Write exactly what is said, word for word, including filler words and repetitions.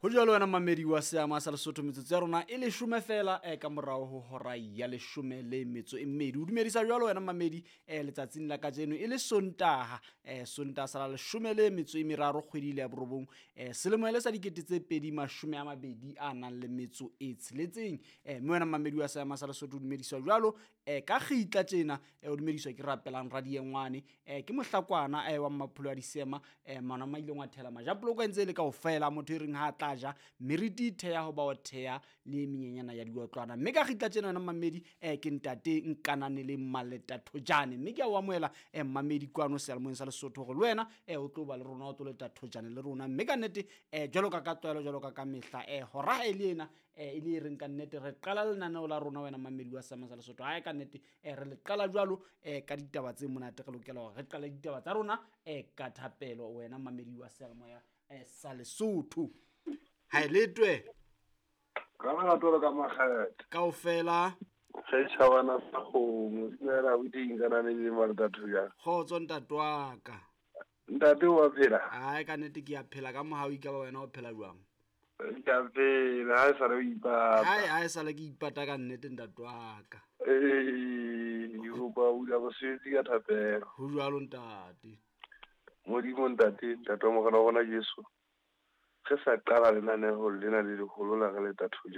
Ho jwalo wena mamedi wa seama sa Lesotho, metsotso ya rona e leshome fela eh, ka morao ho hora ya leshome le metso e mmedi. O dumedisa jwalo wena mamedi eh, letsatsing la kajeno e le Sontaha, eh, Sontaha sa la leshome le metso e meraro kgwedi le ya borobong, eh, selemo e le sa dikete tse pedi mashome a mabedi a nang le metso e tsheletseng. Eh, mme wena mamedi wa seama sa Lesotho o dumediswa jwalo eh, ka kgitla tjena, eh, o dumediswa ke Rapelang Radiengwane, eh, ke mohlakwana eh, wa Mmapholo a Disema, eh, mana ma ileng wa thela majapoloko a ntse e le kaofela, motho e reng ha a tla ja meriti theya ho ba o theya le menyenyana ya diotlwana. Mme ka kgitla tjena wena mamedi eh, ke ntate Nkanane le Maleta Thojane, mme ke a o amohela eh, mamedi kwano seyalemoyeng sa Lesotho hore le wena eh, o tlo ba le rona, o tlo leta thojane le rona. Mme ka nnete eh, jwalo ka ka tlwaelo, jwalo ka ka mehla eh, hora ha e le ena eh, e le e reng ka nnete re qala lenaneo la rona wena mamedi wa seama sa Lesotho. Ha e ka nnete eh, re le qala jwalo eh, ka ditaba tse monate, re lokela hore re qale ditaba tsa rona eh, ka thapelo wena mamedi wa seyalemoya eh, sa Lesotho. Ha e letwe ka lerato le ka makgethe kaofela setšhabana sa kgomo dumela abuti Nkanane le Maleta Thojane. Kgotso ntate wa ka. Ntate wa phela? Ai ka nnete ke a phela ka mohau, e ka ba wena o phela jwang? Ke a phela, ha e sale o ipata. Hai ha e sale ke ipata ka nnete ntate wa ka. Ee, ke kopa o bula mosebetsi ka thapelo. Ho jwalo ntate. Modimo ntate, ntate wa morena wa rona Jesu, re sa qala lenaneo lena le leholo la re Leta Thojane.